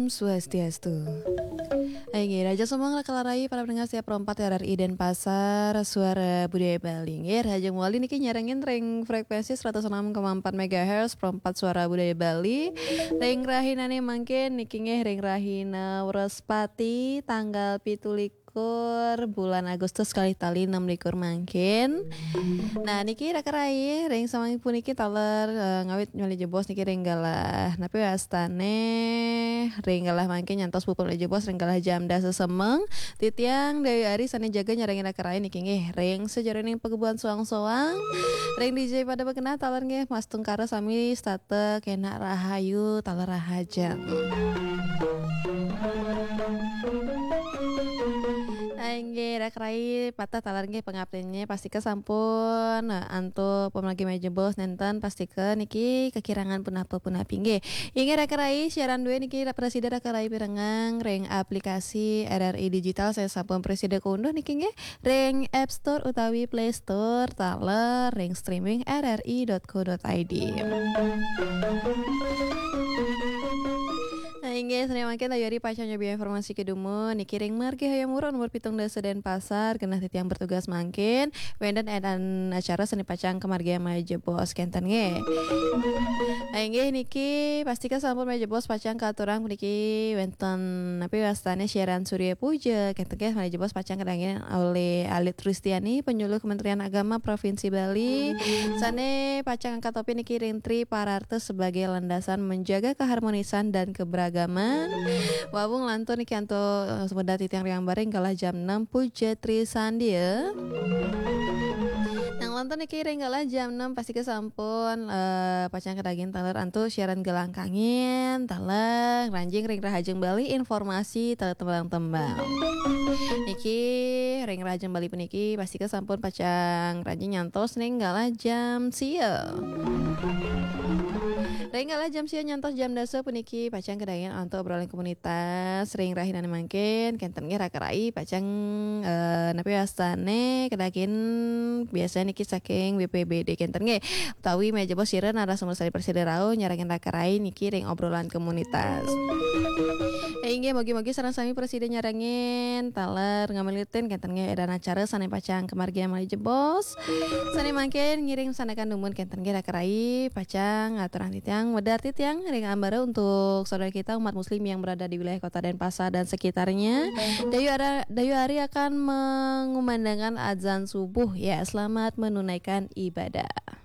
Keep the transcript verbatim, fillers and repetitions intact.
Swastiastu. Inggih, rahajeng semeng raka rai para pendengar setia Pro empat R R I Denpasar, Suara Budaya Bali. Inggih, rahajeng malih niki nyarengin ring frekuensi seratus enam koma empat megahertz Pro empat Suara Budaya Bali. Ring rahinane mangkin niki nggih ring rahina Wrespati tanggal pitu likur bulan Agustus kalih tali enam likur mangkin. Nah, niki raka rai ring sami puniki taler, eh, ngawit malih jebos niki ring galah napi wastane ring galah mangkin nyantos puput malih jebos ring galah jam dasa semeng. Titiang Dewi Ari sane jaga nyarengin raka rai niki nggih ring sajeroning pagebuan soang-soang. Ring D J pada bekenah taler nggih Mas Tungkara sami setata kenak rahayu taler rahajeng. Inggih, raka rai patah taler nggih pangaptinnya pastika sampun, eh, antuk pamargi malih jebos nenten pastika niki kekirangan punapa punapi nggih. Inggih raka rai siaran due niki prasida raka rai pirengang ring aplikasi R R I Digital saya sampun prasida kaunduh niki nggih ring App Store utawi Play Store taler ring streaming R R I dot co dot I D. Nah, inggih, sane mangkin Ayu Ari pacang nyobi informasi kedumun niki ring Margi Hayam Wuruk nomor pitung dasa Denpasar, genah titiang bertugas mangkin wenten edan acara sane pacang kamargiang malih jebos kenten nggih. Nah, inggih niki pastika sampun malih jebos pacang katurang puniki wenten napi wastane siaran Surya Puja kenten nggih malih jebos pacang kadangin olih Alit Ristiani penyuluh Kementerian Agama Provinsi Bali sane pacang angkat topi niki ring Tri Pararta sebagai landasan menjaga keharmonisan dan keberagaman. Wawung lantur niki antuk, eh, semedat titiang riang baring galah jam enam Puja Tri Sandia. Nang lantur niki ring galah jam enam pastika sampun, eh, pacang kadaging taler antuk siaran Gelang Kangin, taler ranjing ring Rahajeng Bali informasi taler tembang-tembang. Niki ring Rahajeng Bali puniki pastika sampun pacang ranjing nyantos ring galah jam sia. Ring galah jam sia nyantos jam dasa puniki pacang kadaging antuk obrolan komunitas ring rahinane mangkin kenten nggih raka rai pacang, eh, napi wastane kadaging biasane niki saking B P B D kenten nggih utawi malih jebos sira narasumber sane prasida rauh nyarengin raka rai niki ring obrolan komunitas. Inggih, mugi-mugi sareng sami prasida nyarengin taler ngamilutin kenten nggih edan acara sane pacang kamargiang malih jebos. Sane mangkin ngiring sandekan dumun kenten nggih raka rai pacang ngaturang titiang, wedar titiang ring ambara untuk saudara kita umat muslim yang berada di wilayah Kota Denpasar dan sekitarnya. Dayu Ara-, Dayu Ari akan mengumandangkan azan subuh. Ya, selamat menunaikan ibadah.